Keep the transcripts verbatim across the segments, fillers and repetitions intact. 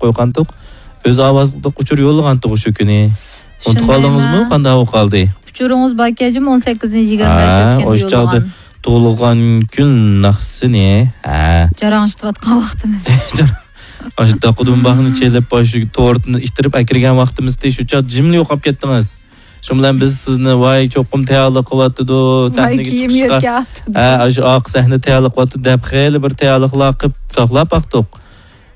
قويغانتۇق. ئۆز ئاۋازلىق ئۇچۇر يوللىغانتۇق شۇ كۈنى. ئۇنتۇپ قالدىڭىزمۇ؟ شۇندايمۇ؟ قانداق بولۇپ قالدى؟ ئۇچۇرىڭىز باركەنجۇمۇ، ئون سەككىزىنچى يىگىرمە بەش ھە، ئۆتكەندە ئوشۇ چاغدا يوللىغان. تۇغۇلغان كۈن ناخشىسىنى. ھە. جاراڭشىتىۋاتقان ۋاقتىمىز. ئاشۇ داقۇدۇمباقنى چېلىپ، ئاشۇ تورتنى ئىتتىرىپ ئەكىرگەن ۋاقتىمىزدى، شۇ چاغ جىملا يوقاپ كەتتىڭىز. شۇ بىلەن بىز سىزنى، ۋاي، چوقۇم تەييارلىق قىلىۋاتىدۇ، ۋاي، سەھنىگە كىيىم چىقىشقا. يۆتكەۋاتىدۇ. ھە، ئاشۇ ئارقا سەھنە تەييارلىق قىلىۋاتىدۇ دەپ خېلى بىر تەييارلىقلار قىلىپ ساقلاپ باقتۇق.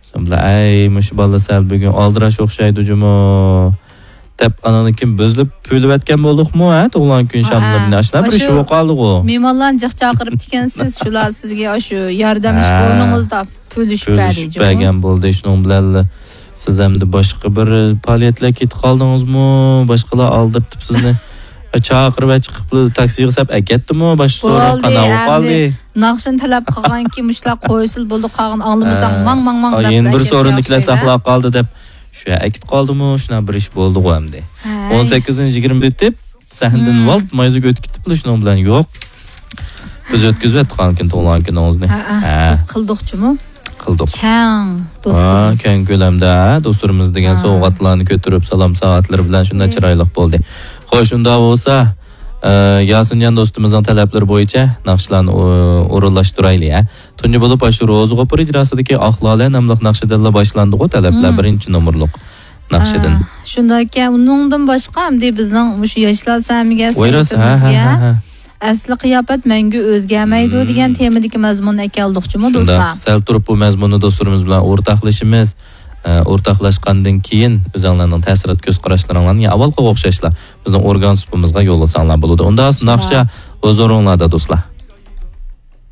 شۇ بىلەن، ئەي، مۇشۇ بالا سەل بۈگۈن ئالدىراش ئوخشايدۇ جۇمۇ، دەپ ئانىڭدىن كېيىن بۆزۈلۈپ پۈۋلىۋەتكەن بولدۇقمۇ، ھە، تۇغۇلغان كۈن ھە، شاملىرىنى؟ ھە. ئاشۇنداق بىر ئىش ئاشۇ بولۇپ قالدىغۇ. مېھمانلارنى جىق چاقىرىپتىكەنسىز، شۇلار سىزگە ئاشۇ ياردەملىشىپ ھە. ئورنىڭىزدا پۈۋلىشىپ بەردى پۈۋلىشىپ جۇمۇ. بەرگەن بولدى. شۇنىڭ بىلەن سىز ئەمدى باشقا بىر پائالىيەتلەرگە كېتىپ قالدىڭىزمۇ؟ باشقىلار ئالدىرىتىپ سىزنى چاقىرىپ چىقىپ تاكسىغا سەپ ئەكەتتىمۇ؟ باشقا سورۇن بولدى، قانداق بولۇپ ئەمدى قالدى؟ ناخشىنى تەلەپ قىلغانكى مۇشۇلار قويسىلا بولدى، قالغان ئاڭلىمىساڭ ھە. ماڭ، ماڭ، ماڭ ئا، دەپ يەنە بىر سورۇننى كېلەر ياخشى ساقلاپ قالدى دەپ شۇ ئەكىتىپ قالدىمۇ؟ شۇنداق بىر ئىش بولدىغۇ ئەمدى. ھەي. ئون سەككىزىنچى يىگىرمە ئۆتۈپ، سەھنىدىن ھىم. ۋالت مايزا ئۆتۈپ كېتىپلا شۇنىڭ بىلەن يوق. بىز ئۆتكۈزۈۋەتتۇق ئانىڭكىن تۇغۇلغان كۈنىڭىزنى. ھە، ھە. ھە. بىز قىلدۇقچۇمۇ؟ قىلدۇق. كەڭ ھە، دوستلىرىمىز. كەڭ كۆلەمدە، ھە، دوستلىرىمىز دېگەن ھە. سوۋغاتلارنى كۆتۈرۈپ، سالام سائەتلىرى بىلەن شۇنداق ھە. چىرايلىق بولدى. خوش، شۇنداق بولسا، ئە، ياسىنجان دوستىمىزنىڭ تەلەپلىرى بويىچە ناخشىلارنى ئو-، ئورۇنلاشتۇرايلى، ھە. تۇنجى بولۇپ، ئاشۇ روزى غوپۇر ئىجراسىدىكى ئاق لالە ناملىق ناخشىدىنلا باشلاندىغۇ تەلەپلەر، ھىم. بىرىنچى نومۇرلۇق ناخشىدىن. ھە، شۇنداككەن، ئۇنىڭدىن باشقا ئەمدى بىزنىڭ مۇشۇ ياشلار سەھىمىگە، ۋايرس، ھە، سەھىپىمىزگە ھە، ھە، ھە. ئەسلى قىياپەت مەڭگۈ ئۆزگەرمەيدۇ مم. دېگەن تېمىدىكى مەزمۇننى ئەكەلدۇقچۇمۇ، شۇنداق. دوستلار؟ سەل تۇرۇپ بۇ مەزمۇننى دوستلىرىمىز بىلەن ئورتاقلىشىمىز. ئە، ئورتاقلاشقاندىن كېيىن ئۆزۈڭلارنىڭ تەسىرات كۆز قاراشلىرىڭلارنى يەنە ئاۋۋالقىغا ئوخشاشلا بىزنىڭ ئورگان سۇپىمىزغا يوللىساڭلار بولىدۇ. ئۇندا شۇنداق. ناخشا ھۇزۇرۇڭلاردا، دوستلار.